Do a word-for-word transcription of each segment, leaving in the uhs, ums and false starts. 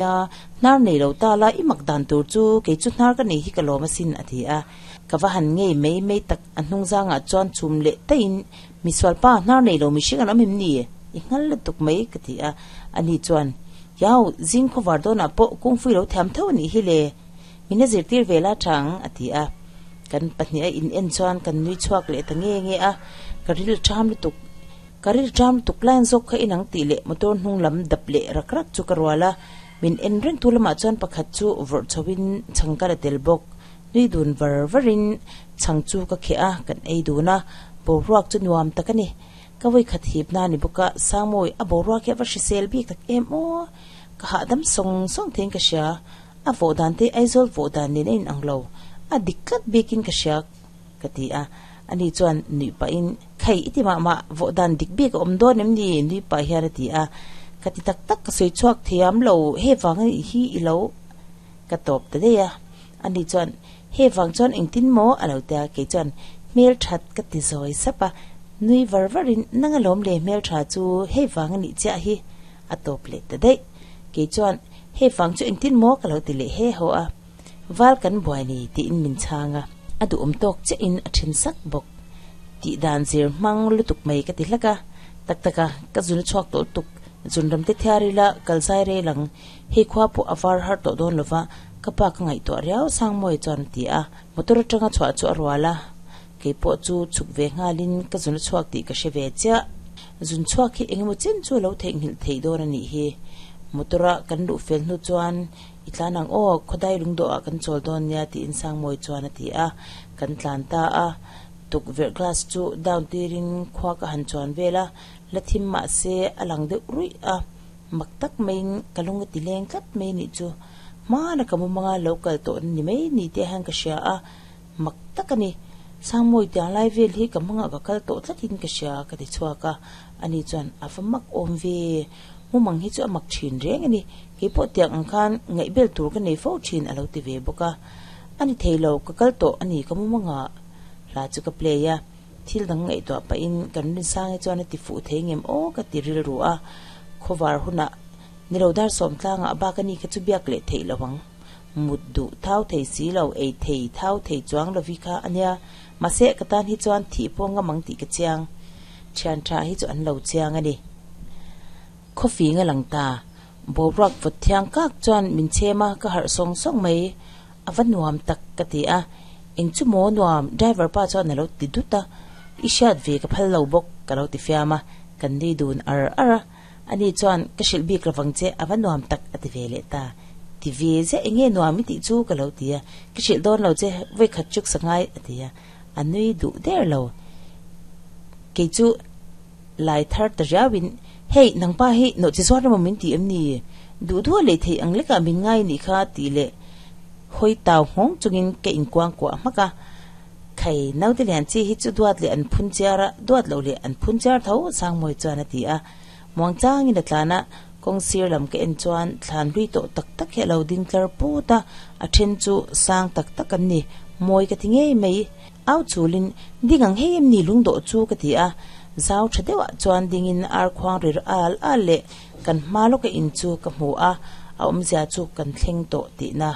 A, hnar nei lo ta la i mak dan tur chu kei chu hnar ka nei hi ka lawm asin a ti a. Ka va han ngei mai mai tak a hnung zangah chuan chhum leh taiin misual pa hnar nei lo mihring an awm em ni? I nghal lutuk mai ka ti a. Ani chuan Yau, zing khawvar dawnah pawh kungfui lo thiam tho a nih hi le. Min a zirtir ve la tha ang a ti a. Kan pahnih a in en chuan kan nui chhuak leh ta nge nge a. Ka ril ṭham lutuk, ka ril ṭham lutuk line zawk kha inang tih leh motor hnung lam dap leh rak rak chu ka rual a. Min en reng tu lamah chuan pakhat chu vawrh chhoin chhang ka la tel bawk. Nui dun var varin chhang chu ka kheh a, kan ei dun a. Boruak chu nuam tak a ni. Ka vawi khat hip na ni bawk a, Sangmawi a boruak hi a va hrisel bik tak em aw. Ka hahdam sawng sawng theiin ka hria. A vawh dan te Aizawl vawh dan nen a inang lo. A dik tlat bikin ka hria ka ti a. Ani chuan nuih pahin, Khai, i ti mah mah, vawh dan dik bik a awm dawn em ni? Nui pah hian a ti a. Ka ti tak tak, ka sawi chhuak thiam lo, he vang a nih hi i lo ka tawp ta daih a. Ani chuan, He vang chuan engtin maw? a lo ti a. Kei chuan, Hmel that ka ti zawi sap a. Nui var varin, Nang alawm le hmel tha chu hei vang a nih chiah hi a tawp leh ta daih. Kei chuan, Hei vang chu engtin maw ka lo ti leh he haw a, val kan buai ni tiin min chhang a, a duhawm tawk chiahin a then sak bawk. Tih dan zir hmang lutuk mai ka ti hlak a, tak tak a, ka zun a chhuak tawh lutuk, zun ram te thiar ila kal zai rel ang, hei khua pawh a var har tawh dawn lova, ka pa ka ngaihtuah riau Sangmawi chuan a ti a, motor atanga chhuah chu a rual a, kei pawh chu chhuk ve nghalin ka zun a chhuak tih ka hre ve chiah. Zun chhuak hi engemaw chen chu a lo theihnghilh theih dawn a nih hi. Motor-a kan luh fel hnu chuan i tlan ang aw, khawdai lungdawhah kan chawl dawn nia tiin Sangmawi chuan a ti a. Kan tlan ta a, tukverh glass chu down tirin khua ka han chuan vel a, la thim mah se a lang deuh ruih a, mak tak maiin ka lung a ti leng tlat mai nih chu. Hmana ka mumanga lo kal tawh ni mai ni te hian ka hria a, mak tak a ni. Sangmawi tiang lai vel hi ka hmangah ka kal tawh tlatin ka hria ka ti chhuak a, ani chuan a va mak awm ve, mumang hi chu a mak thin reng a ni, keipawh tiang ang khan ngaihbel tur ka nei fo thin a lo ti ve bawk a, a ni thei lo, ka kal tawh a ni ka mumangah hla chu ka play a, thil dang ngaihtuah pahin kan Rinsangi chuan a ti fuh thei ngem aw ka ti rilru a, khawvar hunah nilo dar sawm tlangah bak a ni kha chu biak leh theih lo ang. Mut duh thau thei si lo, ei thei thau thei chuang lovi kha a nia. Mahse, ka tan hi chuan thih pawh ngam ang tih ka chiang. Thian tha hi chu an lo chiang a ni. Khawfing a lang ta. Boruak vawt thiang kak chuan min chhem a, ka harh sawng sawng mai. A va nuam tak ka ti a. Eng chu maw nuam, driver pa chuan a lo ti dut a. I hriat ve ka phal lo bawk ka lo ti fiam a. Kan nui dun ar ar a. Ani chuan ka hrilh bik lovang che, a va nuam tak a ti ve leh ta. Ti ve ziah eng nge nuam i tih chu ka lo ti a, ka hrilh dawn lo che, vawi khat chuk sa ngai a ti a, a nui duh der lo. Kei chu lai thar ta riauin, Hei, nangpa hi nawh chi zuar emaw min ti em ni? Duh duh a lei theih ang lekah min ngai nih kha tih leh hawi tau nghawng chungin ka inkuang kuah hmak a. Khai, naute lian chi hi chu duat leh an phun chiar a, duat loh leh an phun chiar tho, Sangmawi chuan a ti a. Muangchangin a tlan a, kawng sir lam ka en chuan thlan hlui tawh tak tak hi a lo ding tlar put a, a then chu sang tak tak an ni, mawi ka ti ngei mai. Au chulin, Ding ang hei em ni lungdawh chu ka ti a, zau tha deuhah chuan dingin ar khuang rir al al leh kan hma lawka in chu ka hmu a, a awmzia chu kan thleng tawh tihna.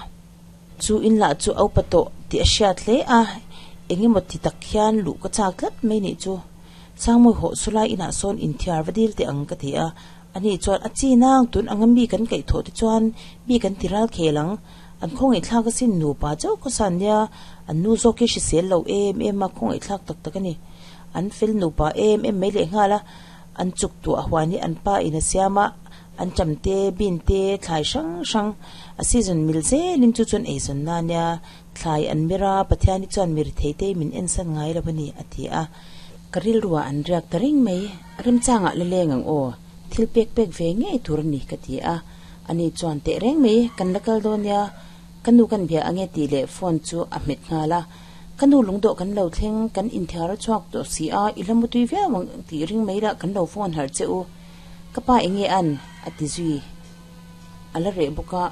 Chu in lah chu a upa tawh tih a hriat hle a, engemaw ti tak hian luh ka chak tlat mai nih chu. Sangmawi hawh chu lai inah sawn inthiar va dil teh ang ka ti a, ani chuan a chi nang tun anga mi kan kaih thawh te chuan mi kan ti ral khel ang, an khawngaihthlak asin nupa chauh khaw san nia, an nu zawk hi hrisel lo em em a khawngaihthlak tak tak a ni. An fel nupa em em mai leh nghal a, an chuk tuah huan hi an pa in a siam a, an cham te, bin te, thlai hrang hrang a season mil zelin chu chuan eizawn na nia, thlai an mir a, Pathian hi chuan mi rithei te min ensan ngai lo a ni a ti a. Ka rilruah an riak ta reng mai, remchangah la leng ang aw, thil pek pek ve ngei tur a ni ka ti a, ani chuan teh reng mai, kan la kal dawn nia, ka nu kan bia ange tih leh phone chu a hmet nghal a, ka nu lungdawh kan lo thleng, kan inthiar a chhuak tawh si a, i la mutui viau ang tih ring mai lah kan lo phone harh che u, ka pa enge an? a ti zui, a la reh bawk a,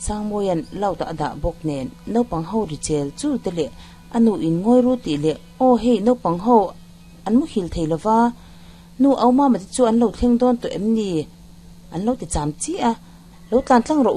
Sangmawia'n loud ah a dah bawk nen naupang ho ri chel chul te leh A nu in ngawi ru tih leh, Aw hei naupang ho an muhil thei lo va, nu au mama te chu an lo thleng dawn tawh em ni? An lo ti cham chi a. Lo tlan tlang rawh u.